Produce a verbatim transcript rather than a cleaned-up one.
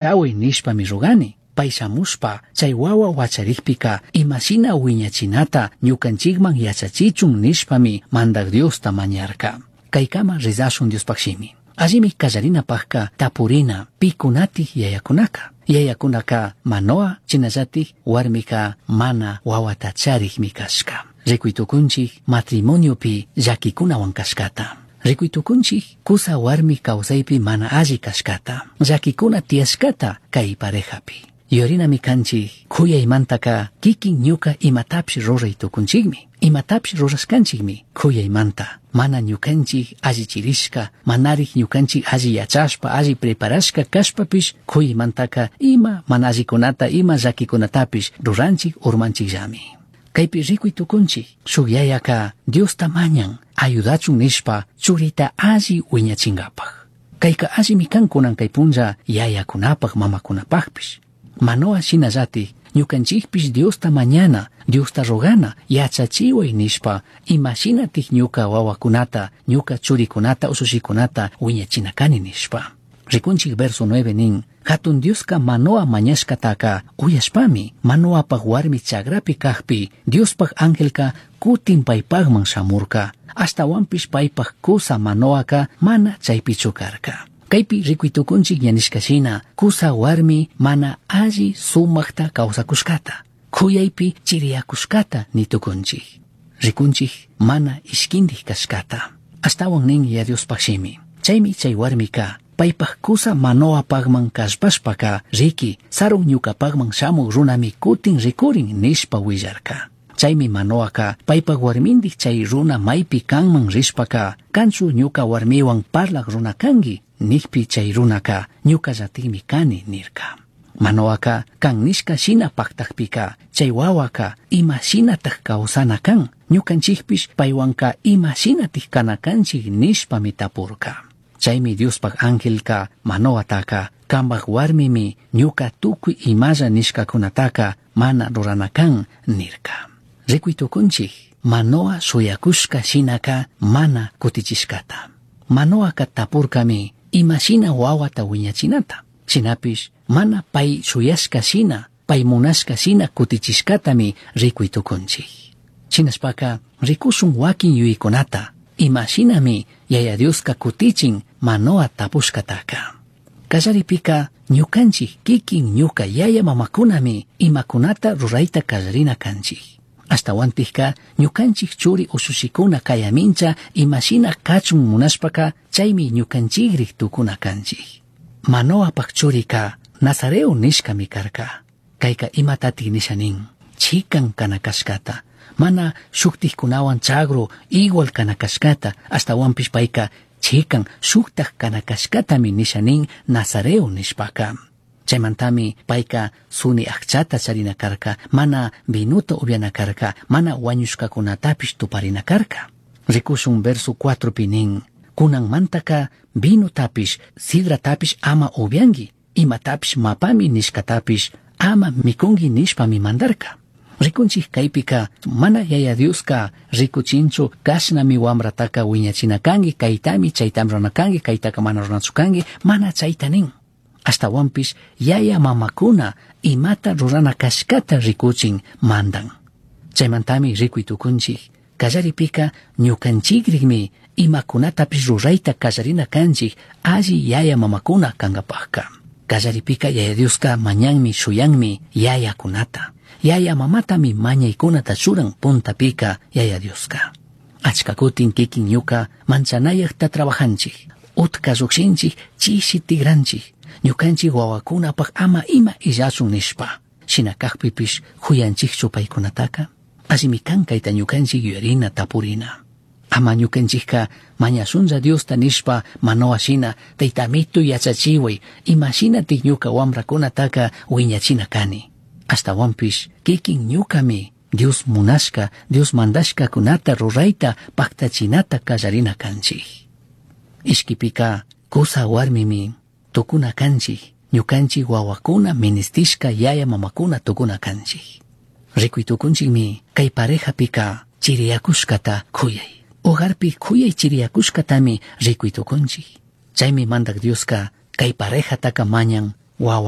Cachahuai nishpami rogani. Pai shamushpa chai huahua huacharijpica ima shina huiñachinata ñucanchijman yachachichun nishpami Mandaj Diosta mañarca. Caicama rezashun Diospaj shimi. Allimi callarinapajca tapurina picunatij yayacunaca. Yayacunaca Manoa shinallataj huarmica mana huahuata charijmi cashca. Ricui tucunchij matrimoniopi llaquicunahuan cashcata. Ricui tucunchij cusa huarmi causaipi mana alli cashcata. Llaquicuna tiyashcata cai parejapi. Yuyarinami canchij c'uyaimantaca quiquin ñuca imatapish rurai tucunchijmi. Imatapish rurashcanchijmi c'uyaimanta. Mana ñucanchij allichirishca, manarij ñucanchij alli yachashpa, alli preparashca cashpapish c'uyaimantaca ima mana allicunata, ima llaquicunatapish ruranchij urmanchijllami. Caipi ricui tucunchij, shuj yayaca Diosta mañan, ayudachun nishpa churita alli huiñachingapaj. Caica allimi can cunan cai punlla yayacunapaj mamacunapajpish. Manoa shinallataj ñucanchijpish Diosta mañana, Diosta rogana, yachachihuai nishpa ima shinataj ñuca huahuacunata, ñuca churicunata, ushushicunata huiñachina cani nishpa. Ricunchij verso nueve nin, Jatun Diosca Manoa mañashcataca uyashpami, Manoapaj huarmi chagrapi cajpi, Diospaj angelca cutin paipajman shamurca. Ashtahuanpish paipaj cusa Manoaca mana chaipichu carca. Caipi ricui tucunchij ña nishca shina, cusa huarmi mana alli sumajta causacushcata, c'uyaipi chiriyacushcata ni tucunchij. Ricunchij mana ishquindij cashcata. Ashtahuan nin ya Diospaj shimi. Chaimi chai huarmica paipaj cusa Manoapajman callpashpaca, riqui, sarun ñucapajman shamuj runami cutin ricurin nishpa huillarca. Chaimi Manoaca paipaj huarmindij chai runa maipi canman rishpaca, canchu ñuca huarmihuan parlaj runa cangui, nijpi chai runaca ñucallatajmi cani nirca. Manoaca can nishca shina pajtajpica, chai huahuaca ima shinataj causana can, ñucanchijpish paihuanca ima shinataj cana canchij nishpami tapurca. Chaimi Diospaj angelca Manoataca, cambaj huarmimi ñuca tucui imalla nishcacunataca mana rurana can nirca. Ricui tucunchij, Manoa shuyacushca shinaca mana cutichishcata. Manoaca tapurcami ima shina huahuata huiñachinata. Shinapish mana pai shuyashca shina, pai munashca shina cutichishcatami ricui tucunchij. Shinashpaca ricushun huaquin yuyaicunata, ima shinami Yaya Dioska cutichin Manoa tapushcataca. Callaripika ñucanchij kikin ñuca yaya mamacunami imacunata ruraita callarina canchij. Ashtahuantijca ñucanchij churi ushushicuna cayamincha imashina cachun munashpaca chaimi ñucanchijrij tucuna canchij. Manoapaj churica Nazareo nishcami carca. Caica imatatik nisha nin, chican cana cashcata, mana shujtijcunahuan chagru igual cana cashcata, ashtahuanpish paica chican shujtaj cana cashcatami nisha nin Nazareo nishpaca. Chaimantami paica suni ajchata charina carca, mana vinuta ubyana carca, mana huañushcacunatapish tuparina carca. Ricushun verso cuatropi nin, cunanmantaca vinotapish, sidratapish ama ubyangui, imatapish mapami nishcatapish ama micungui nishpami mandarca. Ricunchij caipica mana Yaya Dioska ricuchinchu cashnami huambrataca huiñachina cangui, caitami chaitami rurana cangui, caitaca mana ruranachu cangui, mana chaita nin. Ashtahuanpish yaya mamacuna imata rurana cashcata ricuchin mandan. Chaimantami ricui tucunchij, callaripika ñucanchijrikmi imacunatapish ruraita callarina canchij alli yaya mamacuna cangapajca. Callaripika Yaya Dioska mañanmi shuyanmi yayacunata. Yaya mamatami mañaicunata churan puntapika Yaya Dioska. Achka kutin kikin ñuka manchanayajta trabajanchij, utka llukshinchij, chishi tigranchij, ñukanchik wawakunapaj ama ima illachun nishpa. Shina kajpipish juyanchikchu paykunataka? Allimi kan kayta ñukanchik yuyarina tapurina. Ama ñukanchikka mañashunlla Diosta nishpa Manoa shina taytamito yachachiway ima shinatik ñuka wamrakunataka wiñachina kani. Ashtahuanpish kikin ñukami Dios munashka, Dios mandashkakunata rurayta paktachinata kallarina kanchik. Ishkipika kusa warmimi tukuna kanchik, ñukanchik wawakuna ministishka yaya mamakuna tukuna kanchik. Rikuy tukunchikmi kay parejapika chiriyakushkata kuyay. Hogarpi kuyay chiriyakushkatami rikuy tukunchik. Chaymi mandak Dioska kay parejataka mañan Huahua